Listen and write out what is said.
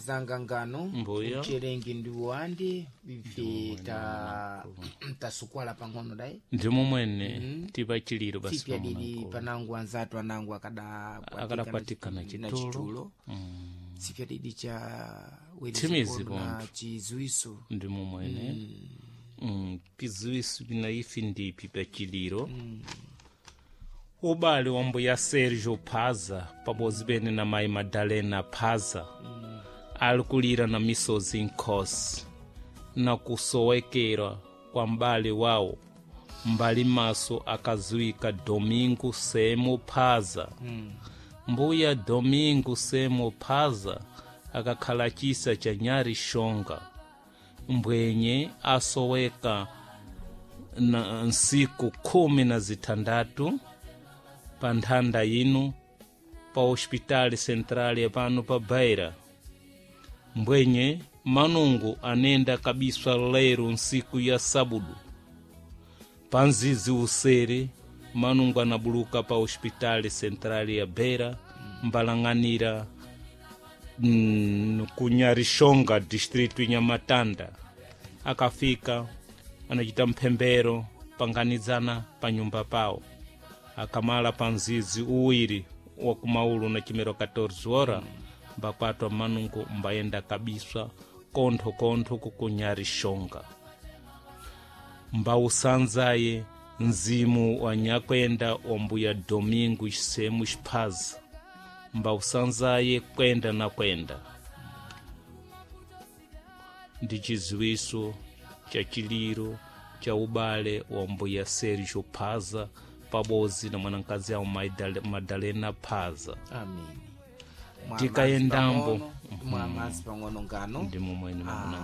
Anzanga ngano Mbuya. Mchelengi ndi wandi ife ta tasukwala pang'ono dai. Ndimo mwene tipachiliro basi. Tsipya didi pamwe panangu anzatu anangu akada Akadakwatikana na chitulo. chitulo tsipya didi cha Tsimizi na pontho. chizuiso. Ndimo mwene piziwiso pina ifi ndipi pachiliro ubale wa mbuya Sergio Phaza pabodzi pene na mayi Madalena Phaza ali kulira na misozi nkhosi na kusowekera kwa m'bale wawo mbali maso akaziwika Domingo Semo Phaza. Mbuya Domingo Semo Phaza akakhala chisa cha Nyari Shonga mbwenye asoweka na nsiku 16 pa nthanda ino pa hospitali central pano pa Beira. Mbwenye manungu anenda kabiswa lero nsiku ya sabudu pa nzizi usere manungu anabuluka pa hospitali central ya Beira mbalang'anira kunyarishonga distritu Nyamatanda. Akafika anachita mphembero panganizana pa nyumba pawo akamala pa mzizi uwiri wa kumaulu na chimero 14 ora mbakwatwa manungu mbayenda kabiswa kontho kukunyarishonga mbausanzaye mzimu wa nyakwenda wa mbuya Domingo Semo Phaza mbausanzaye kwenda na kwenda ndi chiziwiso cha chiliro cha ubale wa mbuya Sergio Phaza pabodzi na mwanakazi awo Madalena Phaza. Amen. Tikayendambo. Mwa mazi pang'ono ngano. Ndimo mwene. Ah. Mwanangu.